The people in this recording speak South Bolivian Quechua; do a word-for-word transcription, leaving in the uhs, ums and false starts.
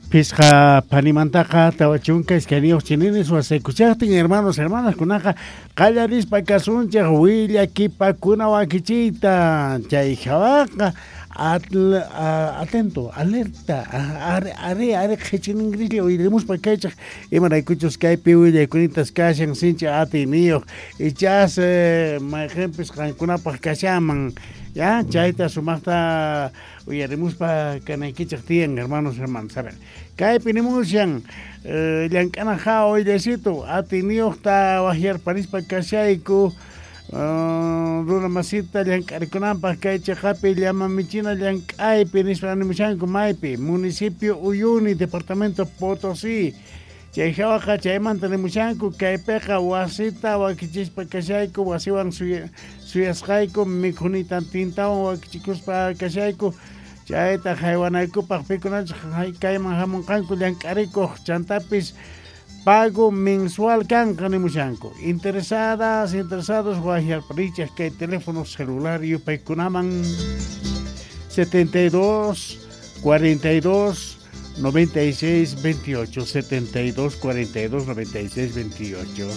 Phisqa phanimantaqa tawa chunka iskayniyuq chininis wasaykuchaqtin, hermanos, hermanas, kunaqa qallarispa kasunchik willakipakuna wakichiyta. Chay hawaqa atento, alerta, are are are qhichiningrilla uyarimuspa kaychaq, imaraykuchus kaypi willaykunintas kashan sinchi atiyniyuq, ichas mayqinpis qankunapaq kashaman. Ya, chayta sumaqta uyarimuspa kanaykichaq tiyan, hermanos, hermanas. A ver, kaypi nimushan llank'ana hawa willaysitu atiyniyuqta waqyarparispa kashayku runa masita llank'arikunanpaq kay chiqapi llama michina llank'aypi nispa nimushanku maypi municipio Uyuni, departamento Potosí. Chay hawaqa chaymanta nimushanku kaypiqa wasita wakichispa kashayku, wasiwan suyasqayku mikhunitan tintawan wakichikuspa kashayku, chayta haywanaykupaq pikunachus kayman hamunqanku llank'arikuq, chantapis pago mensual kanqa nimushanku. Interesadas, interesados waqyarparichaq kay teléfono celular yupaykunaman setenta y dos, cuarenta y dos, noventa y seis, veintiocho, setenta y dos, cuarenta y dos, noventa y seis, veintiocho.